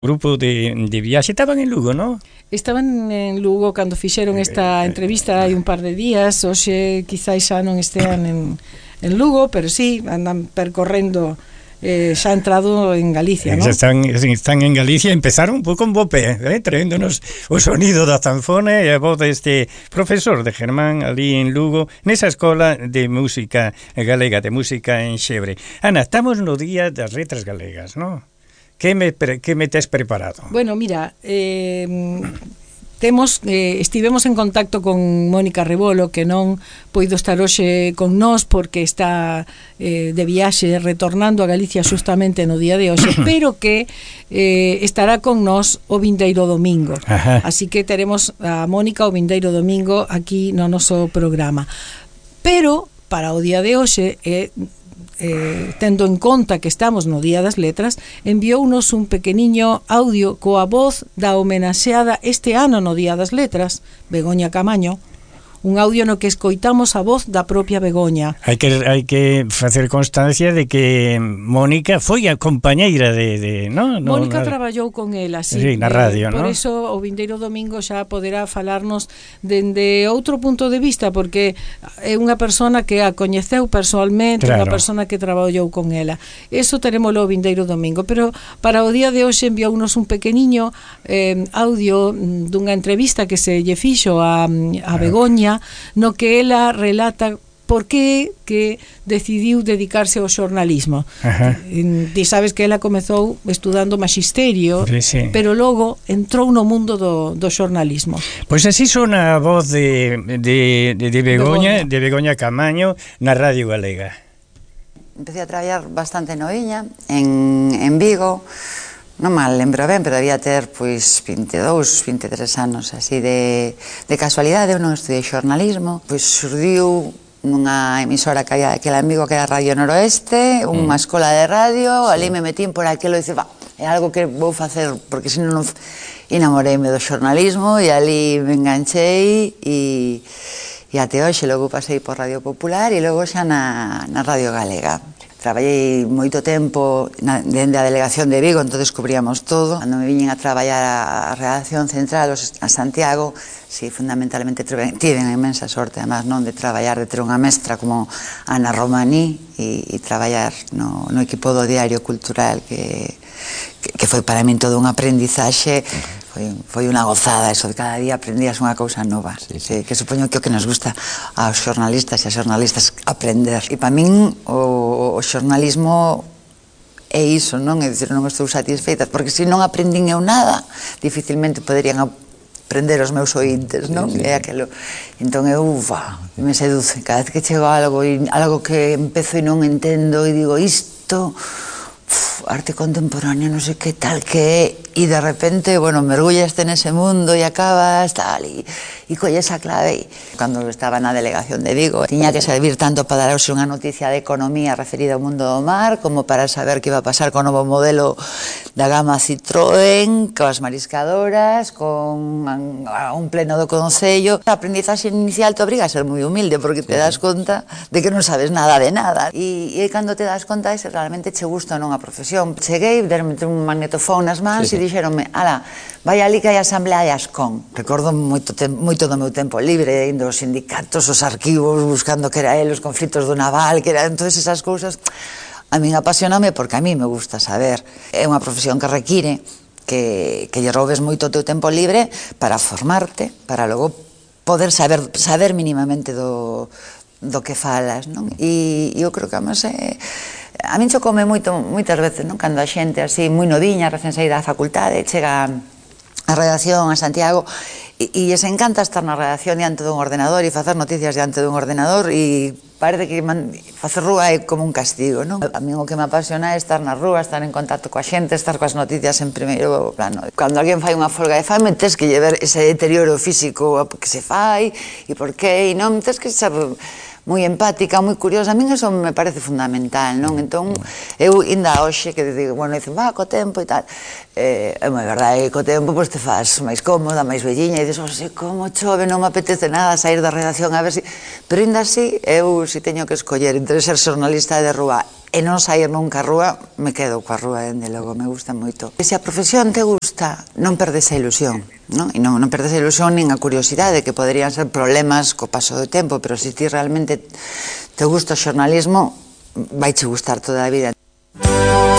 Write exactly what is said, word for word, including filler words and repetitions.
grupo de, de viaxe estaban en Lugo, non? Estaban en Lugo cando fixeron esta entrevista hai un par de días. Hoxe quizás xa non estean en, en Lugo, pero sí, andan percorrendo, eh, xa entrado en Galicia, non? Están, están en Galicia, empezaron un pouco en bo pé, eh, traéndonos o sonido da zanfona e a voz deste profesor de Germán ali en Lugo, nesa escola de música galega, de música en Xebre. Ana, estamos no día das letras galegas, non? Que me, que me tes preparado? Bueno, mira, eh, temos, eh, estivemos en contacto con Mónica Rebolo, que non poido estar hoxe con nós porque está eh, de viaxe retornando a Galicia justamente no día de hoxe, pero que eh, estará con nós o vindeiro domingo. Ajá. Así que teremos a Mónica o vindeiro domingo aquí no noso programa. Pero para o día de hoxe é eh, Eh, tendo en conta que estamos no Día das Letras, enviounos un pequeniño audio coa voz da homenaxeada este ano no Día das Letras, Begoña Camaño, un audio no que escoitamos a voz da propia Begoña. Hai que hai que facer constancia de que Mónica foi a compañeira de, de no, no Mónica na... traballou con ela, sí, sí, na radio, eh, por no? eso o vindeiro domingo xa poderá falarnos dende outro punto de vista, porque é unha persona que a coñeceu persoalmente, claro. Unha persona que traballou con ela. Eso terémolo o vindeiro domingo, pero para o día de hoxe enviounos un pequeniño eh, audio dunha entrevista que se lle fixo a, a Begoña, no que ela relata por que que decidiu dedicarse ao xornalismo. Ti sabes que ela comezou estudando maxisterio, sí, sí. Pero logo entrou no mundo do, do xornalismo. Pois así son a voz de, de, de, de Begoña, Begoña, de Begoña Camaño na Radio Galega. Empecé a traballar bastante noviña en, en Vigo. Non mal lembro ben, pero debía ter pois vinte e dous, vinte e tres anos, así de, de casualidade. Eu non estudei xornalismo, pois surdiu nunha emisora que había aquel amigo que era Radio Noroeste, unha mm. escola de radio, sí. Ali me metín por aquilo e dice, va, é algo que vou facer, porque senón non enamoreime do xornalismo e ali me enganchei e, e até hoxe logo pasei por Radio Popular e logo xa na, na Radio Galega. Traballei moito tempo na, dende a delegación de Vigo, entón descubríamos todo. Cando me viñen a traballar a, a redacción central a Santiago, si, sí, fundamentalmente tiven a inmensa sorte, además, non, de traballar, de ter unha mestra como Ana Romaní e, e traballar no, no equipo do Diario Cultural, que, que, que foi para min todo un aprendizaxe. Foi, foi unha gozada eso de cada día aprendías unha cousa nova, sí, sí. Que supoño que o que nos gusta aos xornalistas e aos xornalistas aprender. E para min o, o xornalismo é iso, non? É dicir, non estou satisfeita, porque se non aprendín eu nada, dificilmente poderían aprender os meus ointes, non? Sí, sí. É aquelo. Entón eu, ufa, me seduce cada vez que chego a algo, e algo que empezo e non entendo e digo isto, uf, arte contemporánea, non sei que tal que é, e de repente, bueno, mergullaste nese mundo e acabas, tal, e, e colles a clave. Cando estaba na delegación de Vigo, tiña que servir tanto para darse unha noticia de economía referida ao mundo do mar, como para saber que iba a pasar co novo modelo da gama Citroën, coas mariscadoras, con un pleno do Concello. A aprendizaxe inicial te obriga a ser moi humilde, porque te das conta de que non sabes nada de nada. E, e cando te das conta de se realmente che gusta ou non a profesión. Cheguei, derme un magnetofón nas mans, sí, sí. E dixeronme, ala, vai ali que hai asamblea de Ascón. Recordo moito, moito do meu tempo libre, indo aos sindicatos, os arquivos, buscando que era el, os conflitos do naval, que eran todas esas cousas. A min apasioname porque a mí me gusta saber. É unha profesión que require que, que lle robes moito o teu tempo libre para formarte, para logo poder saber, saber mínimamente do, do que falas, non? E eu creo que, además, é... A min chocoume moito, moitas veces, non? Cando a xente así, moi noviña, recén saída da facultade, chega a redacción a Santiago e, e se encanta estar na redacción diante dun ordenador e facer noticias diante dun ordenador e parece que man, facer rúa é como un castigo, non? A min o que me apasiona é estar na rúa, estar en contacto coa xente, estar coas noticias en primeiro plano. Cando alguén fai unha folga de fame, tes que lle ver ese deterioro físico que se fai e por qué, e non, tes que ser moi empática, moi curiosa. A min eso me parece fundamental, non? Entón, eu ainda hoxe que digo, bueno, dicen, va, co tempo e tal, é moi verdade, co tempo pois te faz máis cómoda, máis velliña, e dices, oxe, como chove, non me apetece nada sair da redacción a ver si... Pero ainda así, eu si teño que escoller entre ser xornalista de rúa e non sair nunca a rúa, me quedo coa rúa, dende logo, me gusta moito. E se a profesión te gusta, non perdes a ilusión, non? E non, non perdes a ilusión nin a curiosidade, que poderían ser problemas co paso do tempo, pero se ti realmente te gusta o xornalismo, vai che gustar toda a vida.